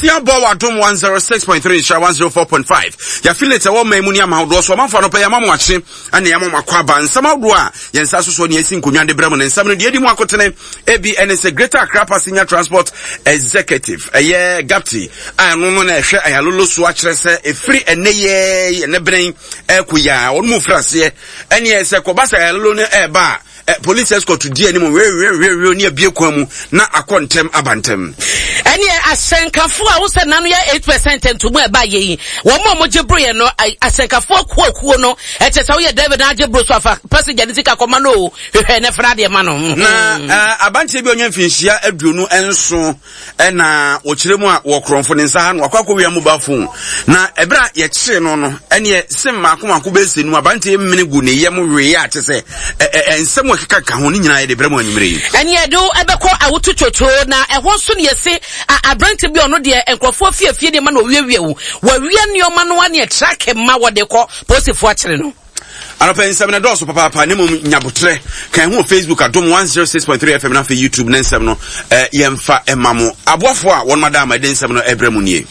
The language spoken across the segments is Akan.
Nonsia bɔ wɔ Adom 106.3 Nhyira 104.5. Yɛafilate ɛwɔ man mu ne amahodoɔ so. Ɔmanfoɔ anɔpa yi ama mo akye ɛna yɛama mo akɔ aba. Nsɛm ahodoɔ a yɛn nsa sosoɔ ne yɛasi nkonnwa de brɛ mo ne nsɛm no deɛ ɛdi mu akotene ebi ɛne sɛ Greater Accra Passenger Transport Executive ɛyɛ GAPTI a ɛno no na ɛhwɛ ayalolo so akyerɛ sɛ ɛfiri ɛnɛ yɛ ɛnɛ bene ɛkɔ yi a wɔn mu firi aseɛ ɛneɛ sɛ kɔba sɛ ayalolo no ɛreba a Eh, police escort di anim wewewewe ne abie kwan mu na akɔ ntɛm aba ntɛm. Ɛneɛ asɛnkafo a wosɛ nano yɛ 8% ntomu a ɛba yɛ yi wɔn a wɔgye boro yɛ no asɛnkafo akuo akuo no ɛkyɛ sɛ woyɛ driver na agye boro so afa passenger ne sika kɔma no o hwehwɛ ne fana adeɛ ma no. Na eh, abanteɛ bi a ɔnya mfinhyia 27 ɛna wɔkyerɛ mu a wɔ korɔmfo ne nsa ha no wakɔ akɔwia mobile phone na ɛberɛ a yɛkyee no no ɛneɛ sem maako maako bɛsɛ nu abanteɛ mmene gu ne yam wee a kyɛ sɛ nsɛm a ɛkeka ka ho ne nyinaa yɛde brɛ mu anwummerɛ yi. Ɛneɛ de ɛbɛkɔ awoto twotwo na ɛhɔ nso ne yɛse aberante bi ɔno deɛ nkurɔfoɔ fiefie nneɛma na ɔwiawia wo wɔawia nneɛma no aneɛ trake ma wɔde kɔ polisifoɔ akyere no. Anɔpa nsɛm no dɔɔso papaapa ne mmom nyabotrɛ kan ho wɔ Facebook Adom 106.3 FM na afei YouTube ne nsɛm no eh, yɛmfa ɛma mo aboafoɔ a wɔn ada ama ɛde nsɛm no ɛbrɛ mu nie.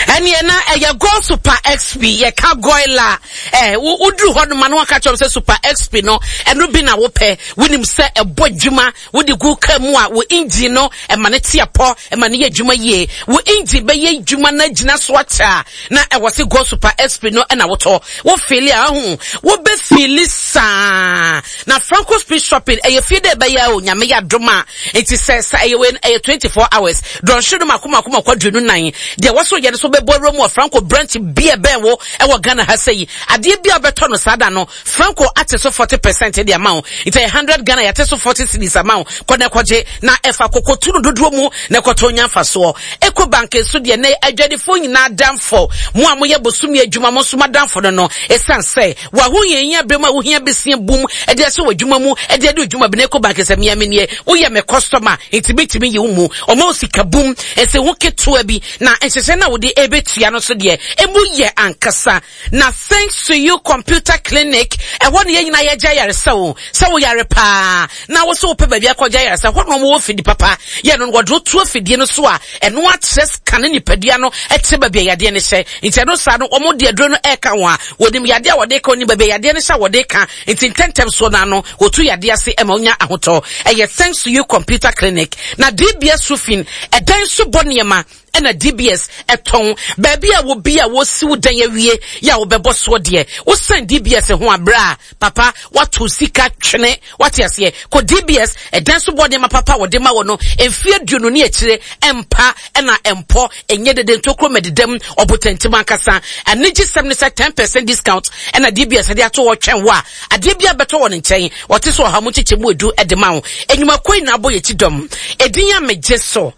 Ɛneɛ na ɛyɛ Go Super XP yɛka goila eh, woduru hɔ noma no waka kyerɛ sɛ Super XP no ɛno bi na wopɛ wonim sɛ ɛbɔ adwuma wode gu ka mu a wo engine no ɛma no te apɔ ɛma no yɛ adwuma yie wo engine bɛyɛ adwuma no agyina so akyɛ a na ɛwɔ se Go Super XP no ɛna wotɔ wo feeli a ahu wobɛ feeli saa na Franco Street Shopping ɛyɛ fie dɛ ɛbɛyɛ o nyame yɛ adom a nti sɛ sɛ ɛyɛ wei ɛyɛ 24 hours dɔnhwere no mako mako mako 24 deɛ wɔso yɛ no so bɛbɔ awura mu wɔ Franco branch bi a ɛbɛn wo ɛwɔ Ghana ha sɛ yi adeɛ bi a wobɛtɔ no saa da no Franco ate so 40 percent de ama wo nti ɛyɛ 100 Ghana yɛate so 40 cedis ama wo kɔ na ɛkɔgye na ɛfa kokotu no dodoɔ mu na ɛkɔtɔ nya mfasoɔ. Ecobank nso deɛ nɛ adwadifoɔ nyinaa adamfo, mo a moyɛ bosome adwuma mo nso mo adamfo no no, ɛsiane sɛ w'ahohiahia berɛ mu a wohia besia bum de ahyɛ w'adwuma mu de adi odwuma bi na Ecobank sɛ mea menie, woyɛ me customer nti metumi yi wo mu, ɔma wo sika bum nsi ho ketewa bi na nhyehyɛ no a wode ɛbɛtua no nso deɛ ɛmu yɛ ankasa. Na thanks to you computer clinic ɛhɔ ne yɛn nyinaa yɛgye ayaresa o sɛ wo yare paa na wo sɛ wopɛ baabi akɔgye ayaresa hɔ na wɔn wɔ fidi papa yɛ no wɔde woto afidie no so a ɛno akyerɛ scan nipadua no ɛkyerɛ baabi a yadeɛ no hyɛ nti ɛno saa no wɔn de aduro no ɛka ho a wɔnim yadeɛ a wɔde ka wɔnim baabi a yadeɛ no hyɛ a wɔde ka nti ntɛntɛm so no ano wɔtu yadeɛ ase ɛma wonya ahotɔ ɛyɛ thanks to you computer clinic na DBS roofing ɛdan so bɔ nneɛma ɛna DBS ɛtɔn baabi a wobi a wɔsiw dan awie yɛ a wobɛbɔ soɔ deɛ wosan DBS ho abrɛ a papa wato sika twene wate aseɛ kɔ DBS ɛdan so bɔ nneɛma papa wɔde ma wɔ no mfeɛ 20 ne akyire ɛmpa ɛna ɛmpɔ ɛnyɛ dede ntokuro mɛdedam ɔbotantim ankasa anigye sɛm ne sɛ 10% discount ɛna DBS de ato hɔ twɛn wo a adeɛ bi a bɛtɔ wɔ ne nkyɛn wɔte so ɔha mu kyekyɛ mu edu ɛde ma wo enyumakuo nyinaa bɔ yɛ akyi dɔm edin a megye so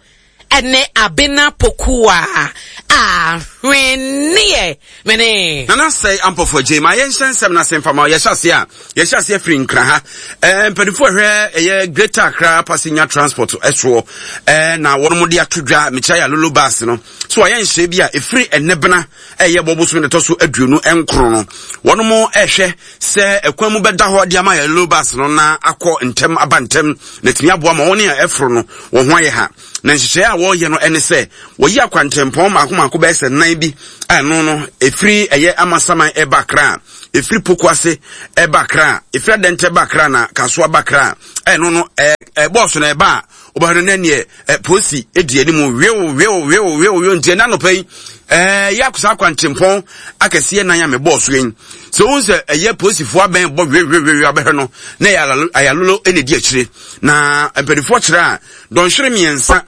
Ɛne Abena Pokuwa Ahweneɛ mene. Nana Sɛe Ampɔfo Agyei ma yɛnhyɛ nsɛm no ase mfa ma yɛhyɛ aseɛ a yɛhyɛ aseɛ firi Nkra ha ɛɛ mpanimfoɔ ɛhwɛ ɛyɛ Greater Accra Passenger Transport ɛsoɔ ɛɛ na wɔn de ato dwa mekyerɛ yɛ alolo bus no so wɔayɛ nhyɛ bi a ɛfiri ɛnɛ bena ɛyɛ bɔ bosom ne tɔ so 29 no wɔn ɛhwɛ sɛ ɛkwan mu bɛda hɔ de ama yɛ alolo bus no na akɔ ntɛm aba ntɛm na ɛtumi aboa ma wɔn a ɛforo no wɔn ho ayɛ ha Na nhyehyɛe a wɔreyɛ no ne sɛ wɔyi akwantempɔn mmaako mmaako bɛyɛ sɛ nan bi a ɛno no ɛfiri ɛyɛ Amasaman ɛba Accra, ɛfiri Pokuase ɛba Accra, ɛfiri Adɛntɛ ba Accra na Kasoa ba Accra. Ɛno no ɛbɔɔso na ɛba a wobɛhwɛ no na neɛ polisi di anim wew wew wew wew wew nti ɛna anɔpa yi ɛyɛ akosa akwantempɔn akɛseɛ nan a mebɔɔ so yi sɛ wohu sɛ ɛyɛ polisifoɔ abɛn bɔ wewewewe abɛhwɛ no na ɛyɛ ayalolo na ɛdi akyire na mpanimfoɔ kyerɛ a Dɔnhwere mmiɛnsa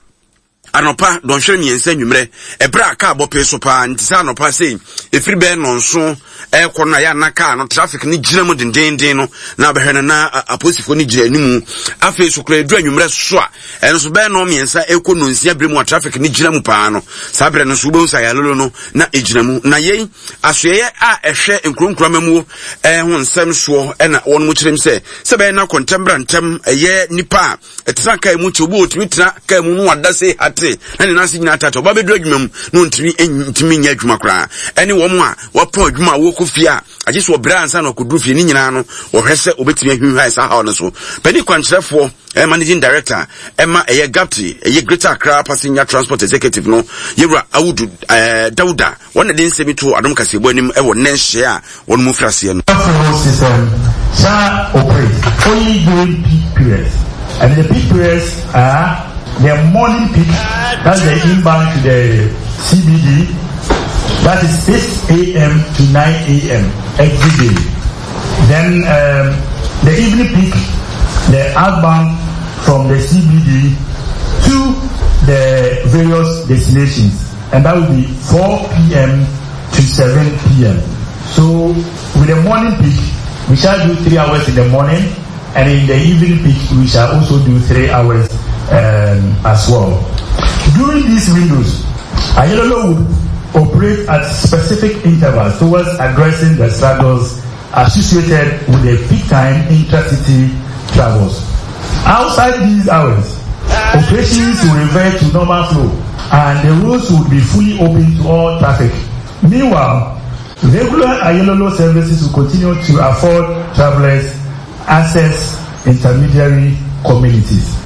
anɔpa, dɔnhwere mmiɛnsa anwummerɛ, ɛberɛ a kaa bɔ pee so paa, nti sɛ anɔpa sei, ɛfiri bɛyɛ nnɔnson ɛrekɔ no a, yɛ ana kaa no traffic no gyina mu dendenden no, na abɛhwɛ no na apolisifoɔ no gyina animu. Afei so koraa ɛduru anwummerɛ so a, ɛno nso bɛyɛ nnɔn mmiɛnsa ɛrekɔ nnɔnsia berɛ mu a traffic no gyina mu paa no, saa berɛ no nso wobɛhu sɛ ayalolo no na ɛgyina mu. Na yei asoɛeɛ a ɛhwɛ nkuro nkuro amamuo ho nsɛm soɔ ɛna wɔn mu kyerɛm sɛ sɛ bɛyɛ na kɔntɛm bra ntɛm ɛyɛ nipa a ɛtena kaa mu nti obi otumi tena kaa mu no wada se hatee. ase na ne nan ase nyinaa tata, ɔba bɛduru adwuma mu na ɔntumi ntumi nyɛ adwuma koraa. Ɛne wɔn a wɔapɔn adwuma a wɔkɔ fie a agye sɛ ɔbrɛ ansa na ɔkɔduru fie ne nyinaa no, wɔhwɛ sɛ wɔbɛtumi ahwinhwan saa haw no so. Panin kwankyerɛfoɔ, eh, managing director ɛma ɛyɛ GAPTI, ɛyɛ Greater Accra Passenger Transport Executive no, yɛwura Awudu eh, Dauda, wɔn na de nsɛm yi to adom kaseɛbɔ anim ɛwɔ nnɛ nhyɛ a wɔn mu firi aseɛ no. Fuel system shall operate only during peak periods, and the peak periods are the morning peak, that's the inbound to the CBD, that is 6 a.m. to 9 a.m. every day. Then um, the evening peak, the outbound from the CBD to the various destinations, and that will be 4 p.m. to 7 p.m. So with the morning peak, we shall do three hours in the morning, and in the evening peak, we shall also do three hours um, as well. During these windows, Ayelolo would operate at specific intervals towards addressing the struggles associated with the peak time intracity travels. Outside these hours, operations will revert to normal flow and the roads would be fully open to all traffic. Meanwhile, regular Ayelolo services will continue to afford travelers access intermediary communities.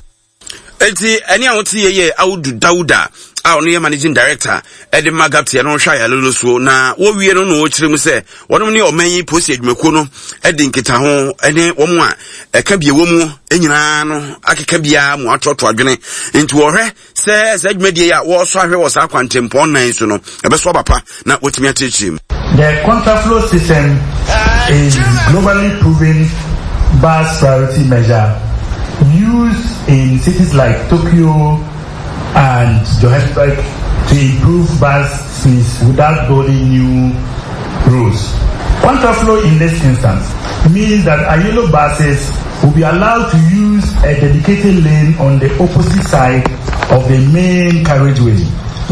Enti ɛne a wote yɛ yɛ Audu Dauda a ɔno yɛ managing director ɛde ma Gapti ɛno hwɛ ayalolo soɔ na wɔwie no na wɔkyerɛ mu sɛ wɔnom ne ɔman yi polisi adwumakuo no ɛde nkitaho ɛne wɔn a ɛka bie wɔ mu nyinaa no akeka biara mu atoatoa adwene nti wɔhwɛ sɛ saa dwumadie yi a wɔresɔ ahwɛ wɔ saa kwantempɔn nan so no ɛbɛso aba pa na wɔatumi akyerɛkyerɛ mu. The contraflow system is globally proven bus priority measure used in cities like Tokyo and Johannesburg to improve bus speeds without building new roads. Contraflow in this instance means that Ayelo buses will be allowed to use a dedicated lane on the opposite side of the main carriageway.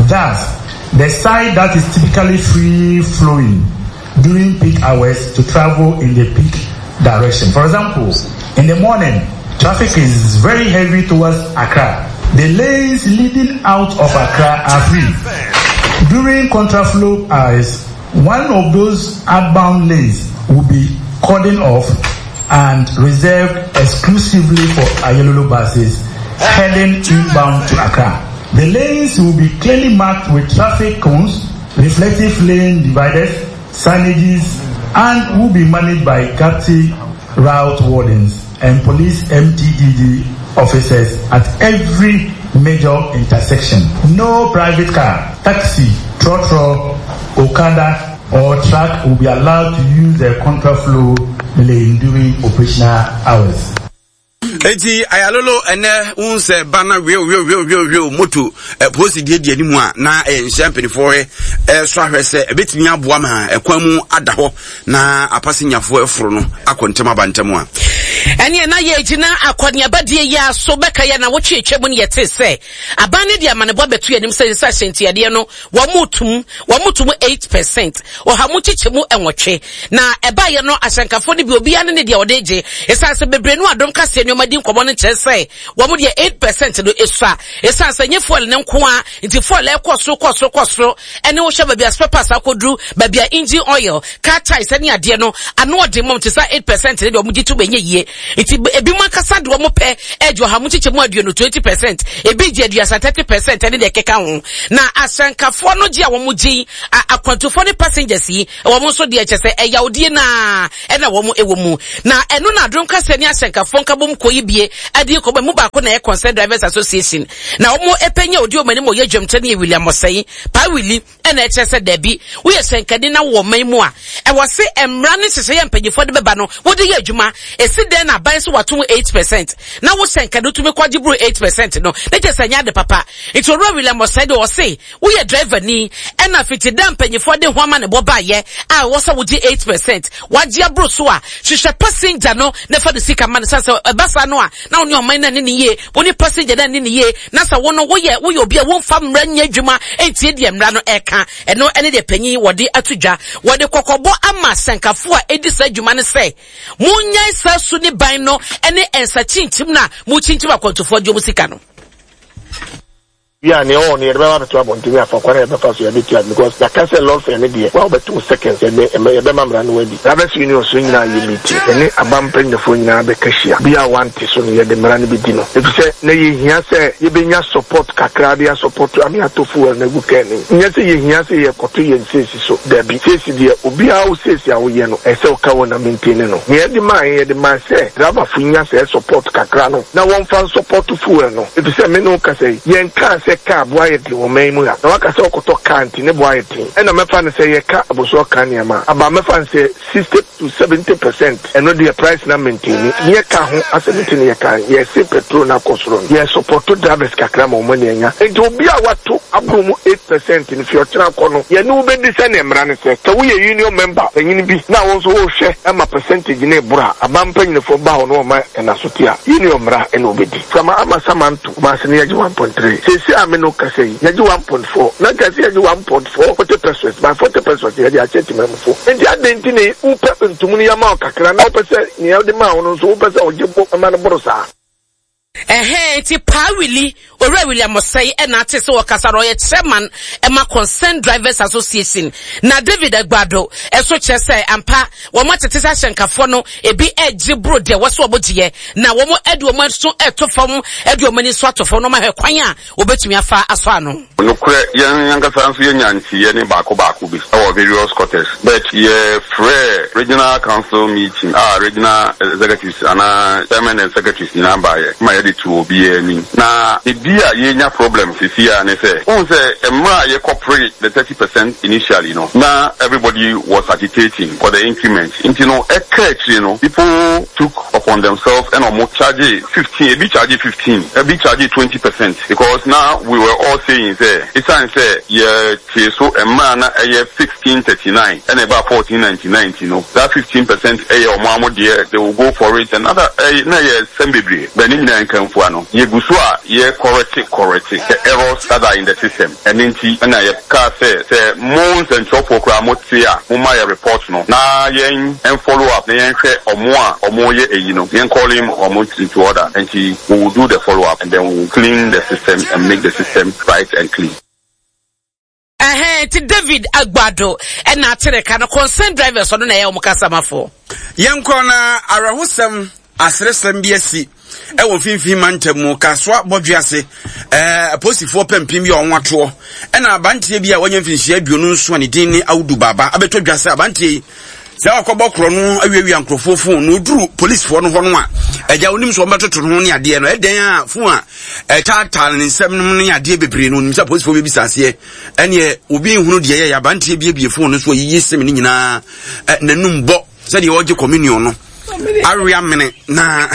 Thus, the side that is typically free flowing during peak hours to travel in the peak direction. For example, in the morning, traffic is very heavy towards Accra. The lanes leading out of Accra are free. During contraflow hours, one of those outbound lanes will be cordoned off and reserved exclusively for Ayalolo buses heading inbound to Accra. The lanes will be clearly marked with traffic cones, reflective lane dividers, signages, and will be managed by GAPTI route wardens and police MTDD officers at every major intersection. No private car, taxi, trotro, okada, or truck will be allowed to use the contraflow lane during operational hours. Eti ayalolo ɛnɛ wohu sɛ ba na wio wio wio wio wio moto polisi deɛ di anim a na ɛyɛ nhyɛ mpanimfoɔ hɛ ɛsɔ ahwɛ sɛ ɛbɛtumi aboa ma ɛkwan mu ada hɔ na apasenyafoɔ ɛforo no akɔ ntɛm aba ntɛm a. Ɛneɛ na yɛgyina akɔneabadie yi ara so bɛka yɛ na wotwe atwa mu no yɛte sɛ aban no de amanebɔ abɛto yɛn anim sɛ sɛ ahyɛntiadeɛ no wɔn mo tum wɔn mo tum eight percent ɔha mu kyekyɛ mu nwɔtwe na ɛbaayɛ no ahyɛnkafoɔ no bi obiara ne ne deɛ ɔde gye ɛsan sɛ bebree no adom kaseɛ nneɛma di nkɔmɔ no kyerɛ sɛ wɔn deɛ eight percent no esua ɛsan sɛ nye fuel ne nko a nti fuel ɛkɔ soro kɔ soro kɔ soro ɛne wohwɛ baabi a spare parts akɔduru baabi a engine oil car tyres ɛne adeɛ no ano ɔden mom te sɛ eight percent ne deɛ wɔn gye to bɛnyɛ yie nti ebi mu ankasa de wɔn pɛ ɛgye ɔha mu kyekyɛ mu aduonu 20 percent, ebi gye aduasa 30 percent ɛne deɛ ɛkeka ho na asankafoɔ no gye a wɔn gye akwantufoɔ ne passengers yi wɔn nso deɛ kyɛ sɛ ɛyawdie naa ɛna wɔn ɛwɔ mu na ɛno na adom kaseɛ ne asankafoɔ nkabom kɔ yi bie ɛde kɔ mu baako na ɛyɛ Concerned Drivers Association na wɔn ɛpɛnya odi wɔn anim ɔyɛ dwamkyɛ ne yɛ William Ɔsɛe Paa Willie ɛna ɛkyerɛ sɛ dabi, woyɛ hyɛnkani na wowɔ ɔman mu a, ɛwɔ se mmara ne nhyehyɛeɛ a mpanyinfoɔ de bɛba no, wode yɛ adwuma. Esi dɛn na aban so wato mu 8% na wo hyɛnkani wotumi kɔgye boro 8% no, ne kyerɛ sɛ ɛnyɛ ade papa. Nti Owura William Osei deɛ ɔse woyɛ driver ni ɛna fiti da mpanyinfoɔ de ho amanebɔ baeɛ a ɛwɔ sɛ wogye 8%, wagye aboro so a, hwehwɛ passenger no na fa ne sika ma no, sane sɛ ɛba saa no a na wo ne ɔman no anni no yie, wo ne passenger no anni no yie, na sɛ wo no woyɛ woyɛ obi a womfa mmara nyɛ adwuma ntie deɛ mmara no ɛka. Ɛno ɛne deɛ panyin wɔde ato dwa. Wɔde kɔkɔbɔ ama sɛnkafo a ɛdi saa adwuma no sɛ, monnyae saa su ne ban no ne nsa kyinkyim no a mokyinkyim akwantufoɔ gye wɔn sika no. Wie a, nea ɔwɔ no yɛde bɛba abɛto abɔnten ne afa kwan a yɛbɛfa so yɛabetua no because yɛaka sɛ lɔre fare no deɛ, wo a wobɛto wo seconds yɛde ɛmɛ yɛbɛma mmara no adi. Drivers Union so nyinaa yɛ meeting, yɛne aban mpanyinfoɔ nyinaa bɛka hyia, obiara a wante so no yɛde mmara no bɛdi no efisɛ na yɛhia sɛ yɛbɛnya support kakra de asupɔto ama yɛatɔ fuel no agu car no mu. Nyɛ sɛ yɛhia sɛ yɛkɔto yɛn seesi so, dabi. Seesi deɛ obiara wo seesi a woyɛ no ɛsɛ sɛ woka wɔ na maintain no. Nea yɛde maa yɛn, yɛde maa sɛ driverfo nya saa support kakra no na wɔmfa nsupɔto fuel no. Efisɛ me ne wo kasa yi, yɛnkaa sɛ kaa bo ayɛ den wɔ ɔman yi mu ha. Na woaka sɛ wokɔtɔ kaa nti ne bo ayɛ den. Ɛna mɛfa no sɛ yɛka abɔsoɔ ka nneɛma a, aba mɛfa no sɛ 60 to 70 percent. Ɛno deɛ price no amaintaini. Nyɛ kaa ho asɛm nti na yɛka. Yɛse petrol no akɔ soro no, yɛsupɔto drivers kakra ma wɔn ani anya. Nti obi a wato aboro mu 8 percent no, fi ɔkyena kɔ no, yɛne wo bɛdi sɛdeɛ mmara no sɛ. Sɛ woyɛ union member panyin bi na wo nso wohwɛ ma percentage no reboro a, aban mpanyinfoɔ ba hɔ na wɔma ɛnasote a, union mmara na wobɛdi. Sama ama Samanto, Kumasi no yɛgye 1.3. Seesei a me ne wo kasa yi, yɛgye 1.4. Na nka ɛsɛ yɛgye 1.4 40 pesewas, by 40 pesewas yɛde akyɛ temamufo. Enti adɛn nti na wopɛ ntomu no yɛma wo kakra na wopɛ sɛ nea wode maa wo no nso wopɛ sɛ ɔgye bo ma no boro saa? Ɛhɛn, ntsi Paa Willie, Owura William Osei na atse sɛ ɔkasa no, ɔyɛ chairman ma Concerned Drivers Association, na David Agbado so kyerɛ sɛ ampa wɔn atete sɛ ahyɛnkafoɔ no ebi regye boro deɛ ɛwɔ sɛ wɔgyeɛ, na wɔde wɔn aso reto fam de wɔn ani nso ato fam na wɔahwɛ kwan a wɔbɛtumi afa asɔ ano. Nokorɛ, yɛn ankasa nso yɛnya nteeɛ ne baako baako bi wɔ various quarters, but yɛ frɛɛ regional council meeting a regional executives anaa chairman and secretaries nyinaa baeɛ ma yɛde too obiara anim. Na baabi a yɛnya problem seesei ara ne sɛ, wohu sɛ mmerɛ a yɛkɔ pere the 30% initially no, na everybody was agitating for the increment, nti no ɛkaa akyire no people took upon themselves ɛna wɔn charge 15, ebi charge 15, ebi charge 20%. Because na we were all saying sɛ esiane sɛ yɛ tee so mmerɛ a na ɛyɛ 1639 ɛna ɛbaa 1499 nti no that 15 percent ɛyɛ wɔn ara mo deɛ, they will go for it and other, ɛyɛ na ɛyɛ nsɛm bebree, but ne nyinaa nka mfua no yɛ gu so a yɛ correct correct the errors that are in the system. Ɛno nti ɛna yɛ kaa sɛ sɛ mo nsɛnkyerɛwfoɔ koraa mo te a mo ma yɛ report no na yɛn follow up na yɛn hwɛ ɔmo a ɔmo yɛ eyi no, yɛn calling ɔmo into order. Nti we will do the follow up and then we will clean the system and make the system right and clean. Ɛhɛn nti David Agbado ɛna atere ka no, concern drivers, ɔno na ɛyɛ wɔn kasamafo. Yɛnkɔ na awerɛhosɛm aseresɛm bi asi ɛwɔ mfimfini mantam mu Kasoa bɔdwe ase. Apolisifoɔ pampim bi a wɔn atoɔ ɛna abanteɛ bi a wɔanya mfinhyia 27 a ne din ne Audu Baba abɛtɔ dwa sɛ abanteɛ yi sɛ ɔkɔbɔ korɔ no awiawia nkurɔfoɔ fon na ɔduru polisifoɔ no hɔ no a, agya onim sɛ wɔbɛtoto no ho ne adeɛ no ɛdɛn a fon a ɛtaataa ne nsɛm no ne adeɛ bebree no, onim sɛ polisifoɔ bɛbisa aseɛ. Ɛneɛ obi nhunu deɛ yɛyɛ abanteɛ biebie fon no so ayiyi sem no nyinaa n'anum bɔ sɛdeɛ ɔgye communion no awe amene na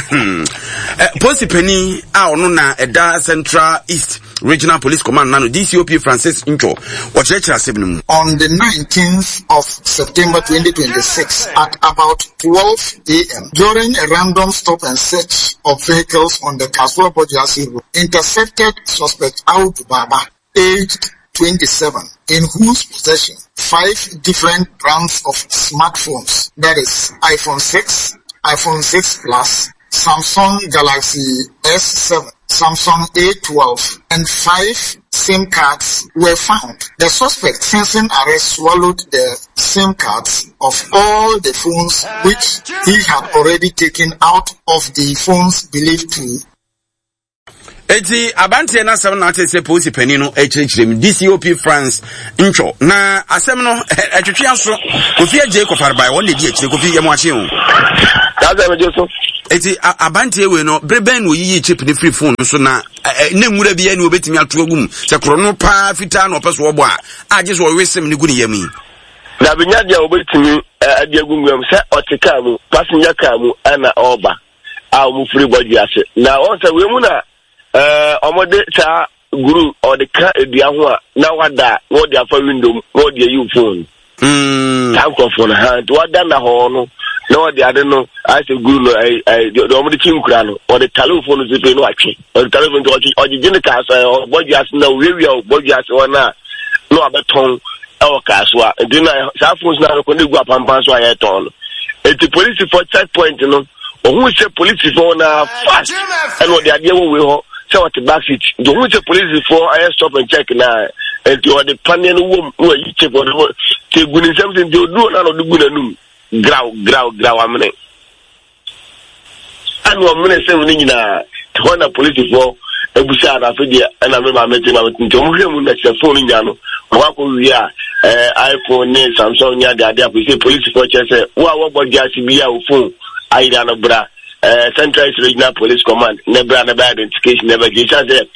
polisi panin a ɔno na ɛda Central East Regional Police Command nano, DCOP Francis Ntwo, wɔkyerɛkyerɛ asɛm no mu. On the 19th of September 2026 at about 12 a.m. during a random stop and search of vehicles on the Kasoa Bawjiase Road, intercepted suspect Audu Baba, aged 27, in whose possession five different brands of smartphones, that is iPhone 6, iPhone 6 Plus, Samsung Galaxy S7, Samsung A12, and five SIM cards were found. The suspect, sensing arrest, swallowed the SIM cards of all the phones which he had already taken out of the phones believed to Eti abanteɛ no asɛm na ate sɛ polisi panin no akyerɛkyerɛ mu, DCOP France Ntwɔ, na asɛm no ɛtwetwe aso. Kofi Agye kɔfarebae wɔn na ɛdi akyire. Kofi, yɛ mo akye o. Saa megye so. Eti abanteɛ wei no, bere bɛn na oyiyi chip no firi phone no so na ne nwura bi ani obetumi ato agu mu sɛ korɔ no paa fitaa na ɔpɛ so ɔbɔ a agye so ɔwe sem no gu ne yam yi? Dabi, nya deɛ obetumi de agu nwura mu sɛ ɔte kaa mu, passenger car mu ɛna ɔreba a wɔn firi bɔdwe ase, na wɔn sɛ wei mu na wɔde saa guru ɔde ka dua ho a na wada na wɔde afa window mu na wɔde ayi phone. Saa nkurɔfoɔ no ha nti wada na hɔ no na wɔde ade no ayɛ sɛ guru no ɛɛ ɛɛ deɛ wɔde kyi nkura no, wɔde tale phone no so pii na watwe ɔde tale phone nti ɔtwe ɔgyegye ne kaa so ɛɛ bɔdwe ase na owiawia bɔdwe ase hɔ na na wabɛtɔn ɛwɔ kaa so a, nti na saa phones na akɔ ne gu apampan so a yɛtɔn no. Eti polisifoɔ check point no, ohun sɛ polisifoɔ na fast ɛna ɔde adeɛ wɔ wei hɔ. sɛ ɔte back seat nti ohun sɛ polisifoɔ ayɛ stop and check na nti ɔde paneɛ no wɔm na wayi chip ɔde wɔ te gu ne nsam sɛ nti oduro na ɔde gu n'anum graw graw graw amene ɛna ɔmene sɛm no nyinaa hɔ na polisifoɔ ebusa na afei deɛ ɛna me maame te maame te nti wɔn hwɛ mu na kyerɛ phone nya no wɔn akɔ wie a ɛɛ iphone ne samsung ne ade ade afei sɛ polisifoɔ kyerɛ sɛ wo a wɔbɔ gyaase bi a wo phone ayera no bra ɛɛ central east regional police command na bra na bɛ identification na bɛ gye esan sɛ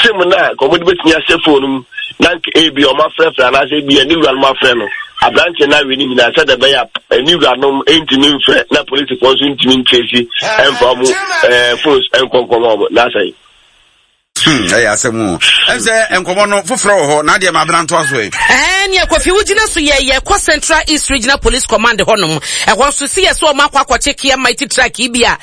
sim na wɔn de betumi ahyɛ phone mu na nka ebi wɔn afrɛfrɛ anaasɛ ebi ɛne wura no afrɛ no aberanteɛ no awe ne nyinaa sɛdeɛ ɛbɛyɛ a ɛne wuranom ntumi mfrɛ na polisifoɔ nso ntumi ntresi ɛmfa wɔn ɛɛ phones nkɔnkɔn wɔn n'asɛe. Hmm, ɛyɛ asɛm o. Ɛm sɛ nkɔmɔ no foforɔ wɔ hɔ na adeɛ ma abena ntoa so ɛ. Ɛɛ nea Kofi wogyina so yɛ yɛkɔ Central East Regional Police Command hɔnom. Ɛhɔ nso si yɛ sɛ wɔn akɔ akɔkye Kia Mighty truck yi bi a.